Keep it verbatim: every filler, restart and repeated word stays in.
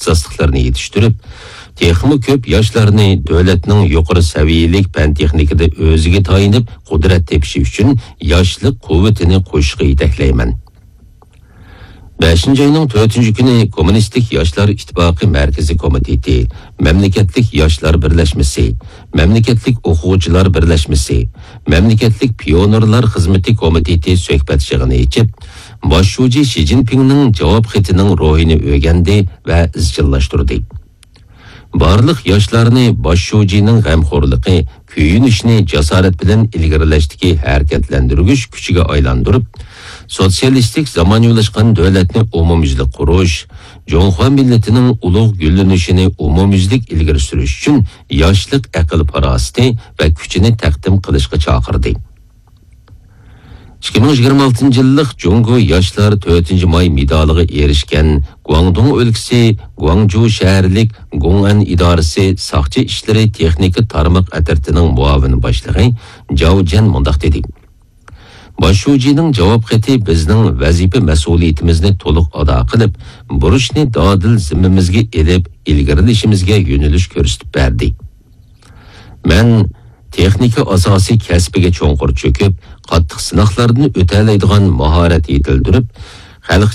ئىختىساسلىقلىرىنى يېتىشتۈرۈپ، تېخىمۇ كۆپ ياشلارنى دۆلەتنىڭ يۇقىرى سەۋىيەلىك پەن-تېخنىكىدا ئۆزىگە تايىنىپ قۇدرەت تېپىشى ئۈچۈن ياشلىق قۇۋۋىتىنى قوشۇشقا يېتەكلەيمەن. بەشىنچى ئاينىڭ تۆتىنچى كۈنى كوممۇنىستىك ياشلار ئىتتىپاقى مەركىزىي كومىتېتى، مەملىكەتلىك ياشلار بىرلەشمىسى، مەملىكەتلىك ئوقۇغۇچىلار بىرلەشمىسى، مەملىكەتلىك پىيونېرلار خىزمىتى كومىتېتى سۆھبەت يىغىنى ئېچىپ، باش شۇجى شى جىنپىڭنىڭ جاۋاب خېتىنىڭ روھىنى ئۆگەندى ۋە ئىزچىللاشتۇردى. بارلىق ياشلارنى باش شۇجىنىڭ غەمخورلۇقى، كۆيۈنۈشىنى جاسارەت بىلەن ئىلگىرىلەشتىكى ھەرىكەتلەندۈرگۈچ كۈچىگە ئايلاندۇرۇپ، سوتسىيالىستىك زامانىۋىلاشقان دۆلەتنى ئومۇميۈزلۈك قۇرۇش، جۇڭخۇا مىللىتىنىڭ ئۇلۇغ گۈللىنىشىنى ئومۇميۈزلۈك ئىلگىرى سۈرۈش ئۈچۈن ياشلىق ئەقىل-پاراسىتى ۋە كۈچىنى تەقدىم قىلىشقا چاقىردى. ئىككى مىڭ يىگىرمە ئالتىنچى يىللىق جۇڭگو ياشلار تۆتىنچى ماي مېدالىغا ئېرىشكەن گۇاڭدۇڭ ئۆلكىسى گۇاڭجۇ شەھەرلىك گۇڭئەن ئىدارىسى ساقچى ئىشلىرى تېخنىكا تارماق ئەترىتىنىڭ مۇئاۋىن باشلىقى جاۋ جەن مۇنداق دېدى: باش شۇجىنىڭ جاۋاب خېتى بىزنىڭ ۋەزىپە مەسئۇلىيىتىمىزنى تولۇق ئادا قىلىپ، بۇرچنى دادىل زىممىمىزگە ئېلىپ، ئىلگىرىلىشىمىزگە يۆنىلىش كۆرسىتىپ بەردى. مەن تېخنىكا ئاساسىي كەسپىگە چوڭقۇر چۆكۈپ، قاتتىق سىناقلاردىن ئۆتەلەيدىغان ماھارەت يېتىلدۈرۈپ، خەلق